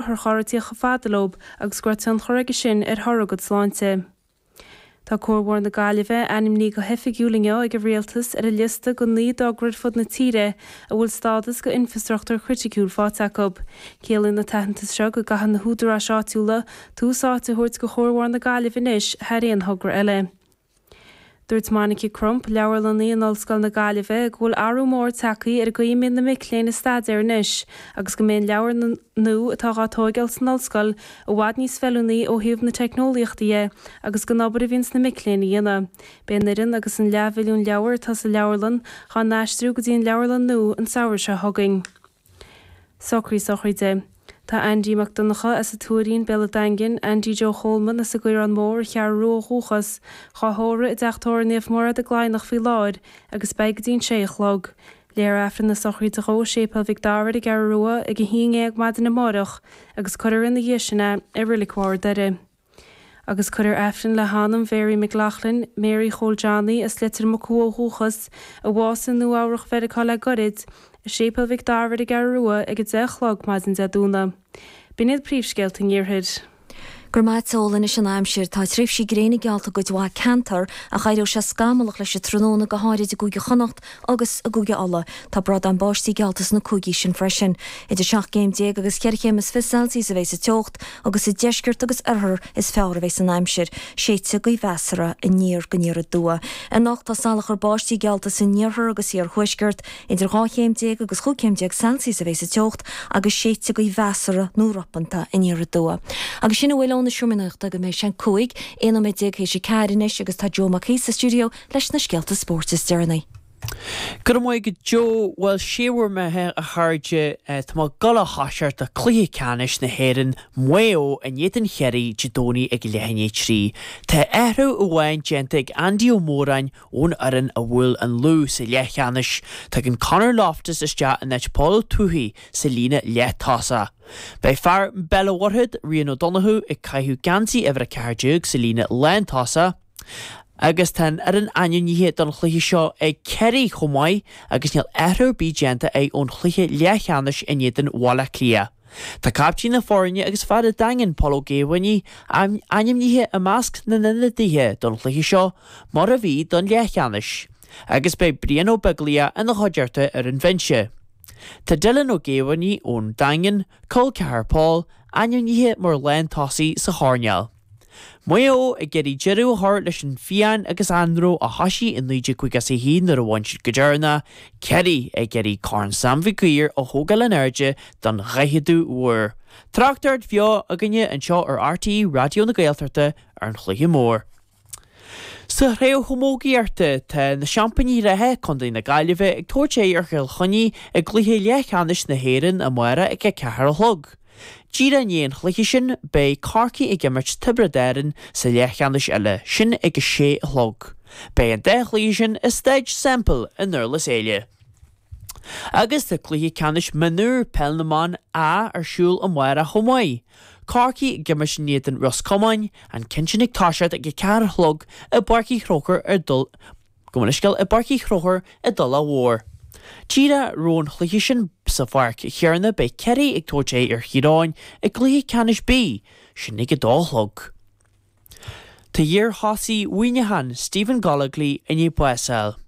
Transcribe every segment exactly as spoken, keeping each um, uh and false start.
Otharcharr ag tíocht chomh fada leo agus go raibh tionchar aige sin ar thoradh a gcuid sláinte. Tá Cuarbhóthar na Gaillimhe ainmnithe go hoifigiúil inniu ag an Rialtas ar an liosta de naoi dtogra ar fud na tíre a bhfuil stádas de infreastruchtúr criticiúil faighte acu. Ciallaíonn an t-aitheantas seo go gcaithfidh na húdaráis áitiúla tús áite a thabhairt do Chuarbhóthar na Gaillimhe anois thar aon thogra eile. Dúirt Monica Crump, leabharlannaí in Ollscoil na Gaillimhe, go bhfuil athrú mór tagtha ar an gcaoi a mbíonn na mic léinn ag staidéar anois agus go mbeidh an leabharlann nua atá á tóigeáil san ollscoil i bhfad níos feiliúnaí ó thaobh na teicneolaíochta dhe agus den obair a bhíonns na mic léinn a dhéanamh. Beidh an fhoireann agus an leathmhilliún leabhar atá sa leabharlann dhá n-aistriú go dtí an leabharlann nua an samhradh seo chugainn. Socruithe sochraide. Tá Andy Mac Donncha as an Tuairín, Béal an Daingin, Andy Joe Cholman as an gCaorán Mór, Cheathrú Rua ó dhúchas, dhá thórramh i dTeach Tórraimh Naomh Mairéad i gCladhnach faoi láthair agus beidh go dtí an sé a chlog. Léifear Aifreann na sochraide dhó i Séipéal Mhic Dara ar an gCeathrú Rua ag a haon déag maidin amáireach agus cuirfear ina dhiaidh sin é i Reilig Bharr Doire. Agus cuirfear Aifreann le hanam Mhary McLaughlin, Mary Chóil Johnny as Leitir Mucú ó dhúchas, a bhásaigh i Nua-Eabhrac Mheiriceá le goirid, i Séipéal Mhic Dara ar an gCeathrú Rua ag a deich a chlog maidin Dé Domhnaigh. B'in iad príomhscéalta an Iarthair. Go raibh maith a't a Fhódhla, anois an aimsir. Tá tréimhsí gréine geallta i gcuid mhaith ceantar ach éireoidh sé scamallach leis an tráthnóna go háirid i gCúige Chonnacht agus i gCúige Uladh. Tá bradáin báistí geallta sna cúigí sin freisin. Idir seacht gcéim déag agus cheithre chéim is fiche Celsius a bheidh sa teocht agus sa deisceart agus oirthear is fearr a bheidh an aimsir. Séidfidh gaoth mheasartha aniar go aniar aduaidh. Anocht tá salachar báistí geallta san iarthar agus iarthuaisceart. Idir dhá chéim déag agus chúig chéim déag Celsius a bheidh sa teocht agus séidfidh gaoth mheasartha nó ropanta aniar aduaidh. Agus sin a bhfuil ón seomra nuachta go mbeidh sé cúig, aon nóiméad déag théis a ceathair anois agus tá Joe Mac Aoidh sa stiúideo leis na scéalta spóirt is deireanaí. Go raibh maith agat Joe, bhuel sé bhur mbeatha a chairde, tá muid ag dul a thoiseacht le cluiche ceannais na hÉireann, Maigh Eo in éadan Chiarraí Dé Domhnaigh ag leath i ndiaidh a trí. Tá athrú amháin déanta ag Andy Ó Móráin ón fhoireann a bhuail an Lú sa leathcheannais. Tagann Conor Loftus isteach in áit Paul Ó Tuathaigh sa líne leath-tosach. Beidh fear Bhéal an Mhuirthead, Rian Ó Donnchú, ag caitheamh geansaí uimhir a ceathair déag sa líne lántosach agus tá an fhoireann ainmnithe don chluiche seo ag Ciarraí chomh maith agus níl athrú ar bith déanta acu ón chluiche leathcheannais in éadan Bhaile Átha Cliath. Tá caiptín na foirne agus fear an Daingin, Paul Ó Géibheannaigh, ainmnithe i measc na n-ionadaithe don chluiche seo mar a bhí don leathcheannais agus beidh Brian Ó Beaglaoich ina chuideachta ar an bhinse. Tá Dylan Ó Géibheannaigh ón Daingean, col ceathar Paul, ainmnithe mar lántosaí sa choirnéal. Maigh Eo ag iarraidh deireadh a chur leis an phian agus anró a thoisigh i naoi déag caoga is a haon nuair a bhain siad go deireanach, Ciarraí ag iarraidh Corn Sam Mhig Uidhir a thógáil in airde don dhaicheadú huair. Tráchtaireacht bheo againne anseo ar RTÉ Raidió na Gaeltachta ar an chluiche mór. Sa chraobh chamógaíochta, tá na seaimpíní reatha, Contae na Gaillimhe, ag tabhairt aghaidh ar Chill Chainnigh i gcluiche leathcheannais na hÉireann amárach ag a ceathair a chlog. Díreach i ndiaidh an chluiche sin, beidh Corcaigh ag imirt Tiobraid Árann sa leathcheannais eile, sin ag a sé a chlog. Beidh an dá chluiche sin i Staid Semple i nDurlas Éile. Agus tá cluiche ceannais mionúr Peil na mBan A ar siúl amárach chomh maith. Corcaigh ag imirt in éadan Ros Comáin, an ceann sin ag toiseacht ag a ceathair a chlog i bPáirc Uí Chrócaigh ar dul Gabh mo leithscéal i bPáirc Uí Chrócaigh i dTulach Mhór. Díreach roimh an chluiche sin sa pháirc chéanna beidh Ciarraí ag tabhairt aghaidh ar Thír Eoghain i gcluiche ceannais B, sin ag a dó a chlog. Tá iar-thosaí Mhuineacháin, Stephen Gollogly, i ndiaidh bás a fháil.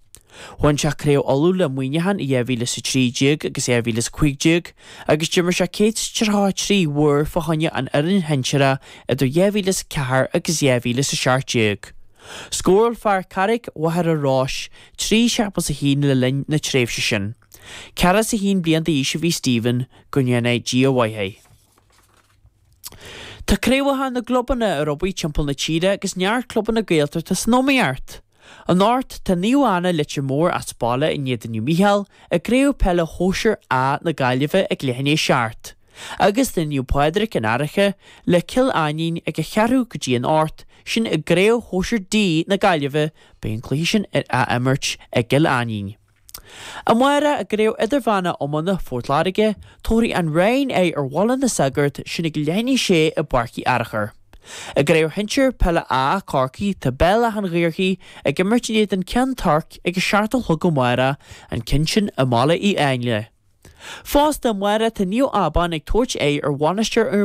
Bhain sé Craobh Uladh le Muineachán i dhá mhíle is a trí déag agus dhá mhíle is a cúig déag agus d'imir sé céad is tríocha a trí uair fá choinne an fhoireann shinsearach idir dhá mhíle is a ceathair agus dhá mhíle is a seacht déag. Scóráil fear Charraig Mhachaire Rois trí seachtó is a haon le linn na tréimhse sin. Ceathracha is a haon bliain d'aois a bhí Stephen, go ndéana Dia a mhaith é. Tá craobhacha na gclubanna ar obair timpeall na tíre agus neart clubanna Gaeltachta san iomaíocht. Anocht tá Naomh Anna Leitir Móir as baile in éadan Naomh Mícheál i gCraobh Peile Shóisir A na Gaillimhe ag leath i ndiaidh a seacht. Agus tá Naomh Pádraig an Fhairche le Cill Ainnín ag a cheathrú go dtí an ocht, sin i gCraobh Shóisir D na Gaillimhe, beidh an cluiche sin á imirt i gCill Ainnín. Amárach i gCraobh Idirmheánach Iomána Phort Láirge, tabharfaidh an Rinn aghaidh ar Bhaile na Sagart, sin ag leath i ndiaidh a sé i bPáirc Uí Fhearchair. I gCraobh Shinsir Peile A, Corcaigh, tá Béal Átha an Ghaorthaidh ag imirt in éadan Ceann Toirc ag a seacht a chlog amárach, an ceann sin i mBaile Uí Áinle. Fosta amárach tá Naomh Abán ag tabhairt aghaidh ar Mhainistir Fhear